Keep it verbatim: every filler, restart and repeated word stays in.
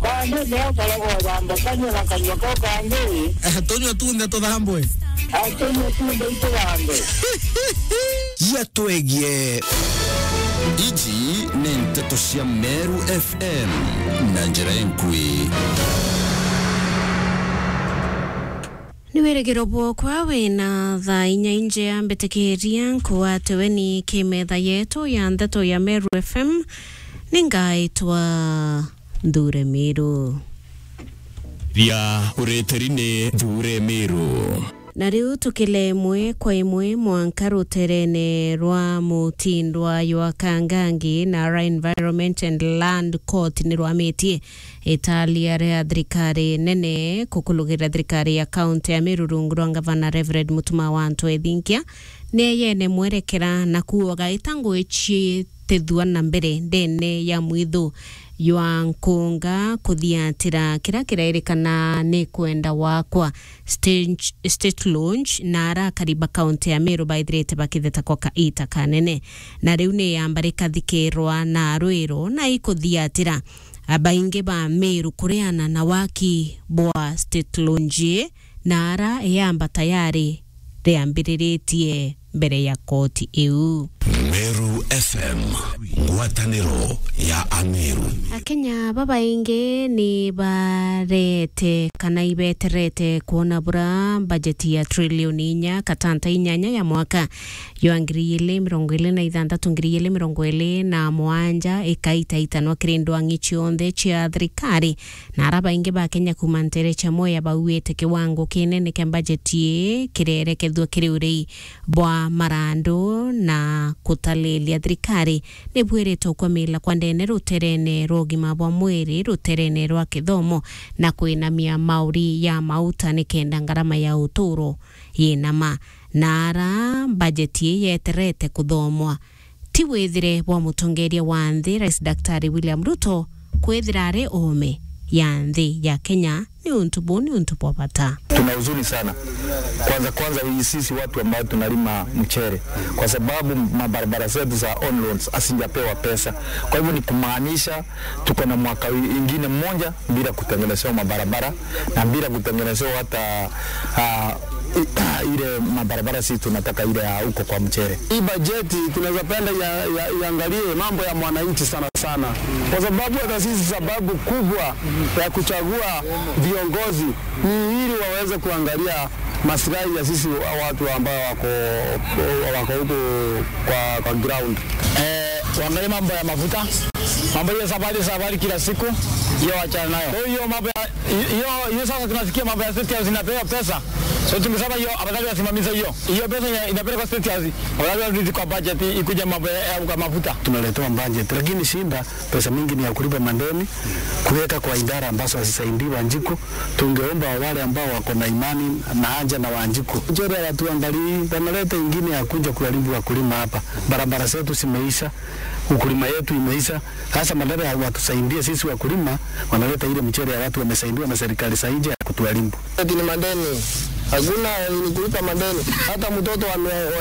Kwanza leo karago thamba kanyua na kanyua kau kangi. Eh, tunywe tunthe tuthambwe. Atunywe tunthe ituthambwe. Yatwegie. Iji ni nteto cia Meru F M na njira enkui. Ni wirigiro bwokwa wina thaa inya injea mbitikiria nkuatiwe ni kimetha yetu ya ndeto ya Meru F M. Ningaitwa Nthure Miru. Ria uritiri ni Nthure Miru. Na riu tukile imwe kwa imwe mwanka ruterene rwa mutindwa jwa Kangangi, na ra Environment and Land Court ni rwamitie italia ria thirikari nene kukulugira thirikari ya kaunti ya Meru rungu rwa ngavana Reverend Mutuma wa Antu Ethinkia, ni eyene mwerekera na kuoga ita ngugi ciitithua na mbere ndene ya mwithu jwa nkunga kuthiatira kira kirairikana ni kwenda wakwa. State, State Launch na arakari ba kaunti ya Meru baithirite bakitheta kwa kaita kanene, na riu ni yamba rikathikirwa na rwiro na ikuthiatira. Abaingi ba Meru kuriana na waki bwa State Launch ii, na ara yamba tayari riambiriritie mbere ya koti iu. Meru F M, ngwataniro ya Ameru. Akenya babaingi ni barete kana ibeterete kwona bura bajeti ya trilioni inya katanta inyanya ya mwaka jwa ngiri igiri mirongo iri na ithanthatu, ngiri igiri mirongo iri na mugwanja ikaitaitanwa kiri ndwang'i cionthe cia thirikari, na ara baingi ba Kenya kuuma nteere cia Mwea bauite kiwango kinene kia bajeti ii kirerekethua kiri urei bwa marandu na kutalilia thirikari. Ni bwirite ukwamila kwa ndene ruterene rwa ugima bwa mwiri, ruterene rwa kithomo na kwinamia mauri ya mauta nikenda ngarama ya uturo yinama. Na ara bajeti ii yeterete kuthomwa, ti withire bwa mutongeria wa nthi, Rais Daktari William Ruto, kwithira ari oome ya nthi ya Kenya ni untu buu ni untu bwa bata. Tuna huzuni sana. Kwanza, kwanza hii sisi watu ambao tunalima mchere, kwa sababu mabarabara zetu za on loans hasijapewa pesa. Kwa hivyo ni kumaanisha tuko na mwaka wi-, ingine mmoja bila kutengenezewa mabarabara na bila kutengenezewa hata, ah, i-, ile mabarabara sisi tunataka ile ya huko kwa mchere. Hii bajeti tunaweza penda ya, ya, iangalie mambo ya mwananchi sana sana, kwa sababu hata sisi sababu kubwa ya kuchagua viongozi ni ili waweze kuangalia maslahi ya sisi wa-, watu ambao wako, wako huko kwa, kwa ground. Eh, waangalie mambo ya mafuta, mambo hiyo safari, safari kila siku, hiyo wachana nayo. Kwa hiyo mambo ya, hiyo, hiyo sasa tunasikia mambo ya State House inapewa pesa. So tungesema hiyo, afadhali wasimamize hiyo. Hiyo pesa ina-, inapelekwa State House, afadhali warudi kwa budget, ikuje mambo ya, ya mafuta. Tunaletewa budget, lakini shinda pesa mingi ni ya kulipa madeni, kuweka kwa idara ambazo hazisaidii Wanjiku. Tungeomba wale ambao wako na imani na haja na Wanjiku. Mchere hawatuangalii, wanaleta ingine ya kuja kuharibu wakulima hapa. Barabara zetu zimeisha, ukulima yetu imeisha. Sasa badala ya watusaidie sisi wakulima, wanaleta ile mchere ya watu wamesaidiwa na serikali za nje ya kutuharibu. Eti ni madeni. Hakuna ni kulipa madeni. Hata mtoto ame-,